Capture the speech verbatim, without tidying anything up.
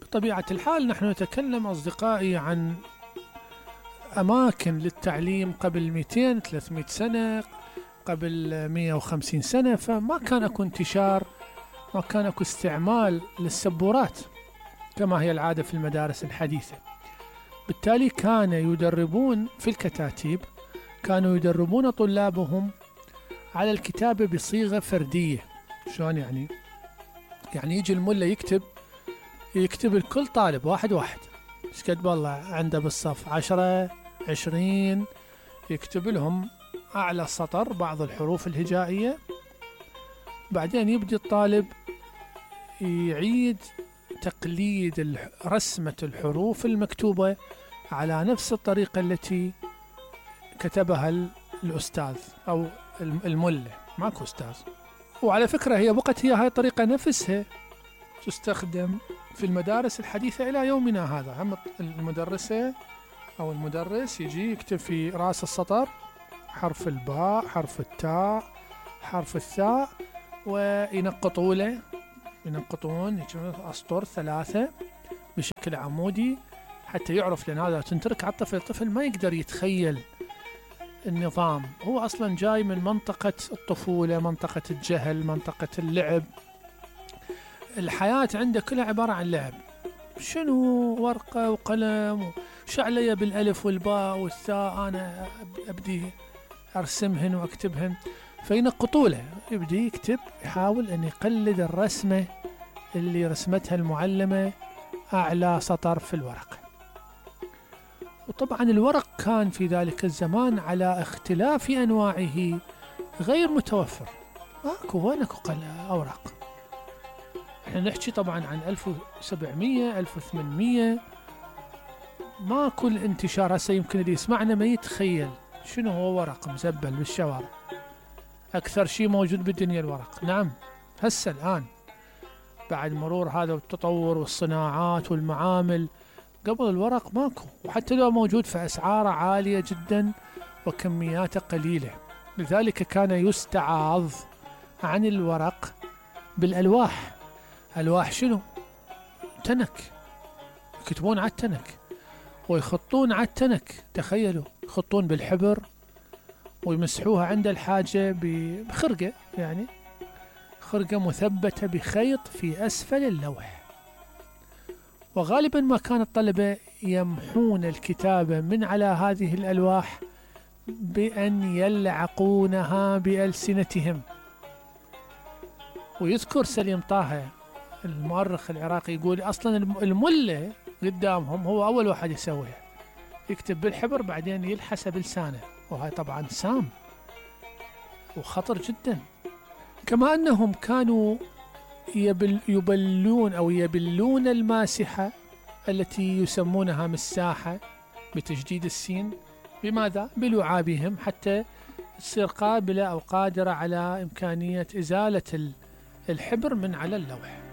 بطبيعة الحال نحن نتكلم أصدقائي عن أماكن للتعليم قبل مئتين ثلاثمئة سنة، قبل مئة وخمسين سنة، فما كان اكو انتشار، ما كان اكو استعمال للسبورات كما هي العادة في المدارس الحديثة. بالتالي كان يدربون في الكتاتيب، كانوا يدربون طلابهم على الكتابة بصيغة فردية. شلون يعني؟ يعني يجي الملا يكتب يكتب لكل طالب واحد واحد، شقد والله عنده بالصف عشرة عشرين، يكتب لهم أعلى سطر بعض الحروف الهجائية، بعدين يبدي الطالب يعيد تقليد رسمة الحروف المكتوبة على نفس الطريقة التي كتبها الأستاذ أو الملا، ماكو أستاذ. وعلى فكرة هي بقت هي هاي الطريقة نفسها تستخدم في المدارس الحديثة إلى يومنا هذا. هم المدرسة أو المدرس يجي يكتب في رأس السطر حرف الباء، حرف التاء، حرف الثاء، وينقطوا له ينقطون أسطر ثلاثة بشكل عمودي حتى يعرف، لأن هذا تنترك على الطفل. الطفل ما يقدر يتخيل النظام، هو أصلا جاي من منطقة الطفولة، منطقة الجهل، منطقة اللعب. الحياة عنده كلها عبارة عن لعب. شنو ورقة وقلم وشعلية بالألف والباء والثاء أنا أبدي أرسمهن وأكتبهن، فينقطوا له، يبدي يكتب، يحاول أن يقلد الرسمة اللي رسمتها المعلمة أعلى سطر في الورق. وطبعا الورق كان في ذلك الزمان على اختلاف أنواعه غير متوفر، ماكو وين اكو أوراق. احنا نحكي طبعا عن ألف وسبعمئة ألف وثمانمئة، ماكو الانتشار. هسه يمكن اللي يسمعنا ما يتخيل شنو هو ورق مزبل بالشوارع. أكثر شيء موجود بالدنيا الورق. نعم، هسه الآن بعد مرور هذا التطور والصناعات والمعامل، قبل الورق ماكو، وحتى لو موجود فأسعاره عالية جدا وكمياته قليلة. لذلك كان يستعاض عن الورق بالألواح. ألواح شنو؟ تنك، يكتبون على التنك ويخطون على التنك. تخيلوا، يخطون بالحبر ويمسحوها عند الحاجة بخرقة، يعني خرقة مثبتة بخيط في أسفل اللوح. وغالبا ما كان الطلبة يمحون الكتابة من على هذه الألواح بأن يلعقونها بألسنتهم. ويذكر سليم طه المؤرخ العراقي يقول أصلا الملة قدامهم هو أول واحد يسويها، يكتب بالحبر بعدين يلحسه بلسانه، وهي طبعا سام وخطر جدا. كما أنهم كانوا يبل يبلون أو يبلون الماسحة التي يسمونها مساحة بتجديد السين. بماذا؟ بلعابهم، حتى تصير قابلة أو قادرة على إمكانية إزالة الحبر من على اللوح.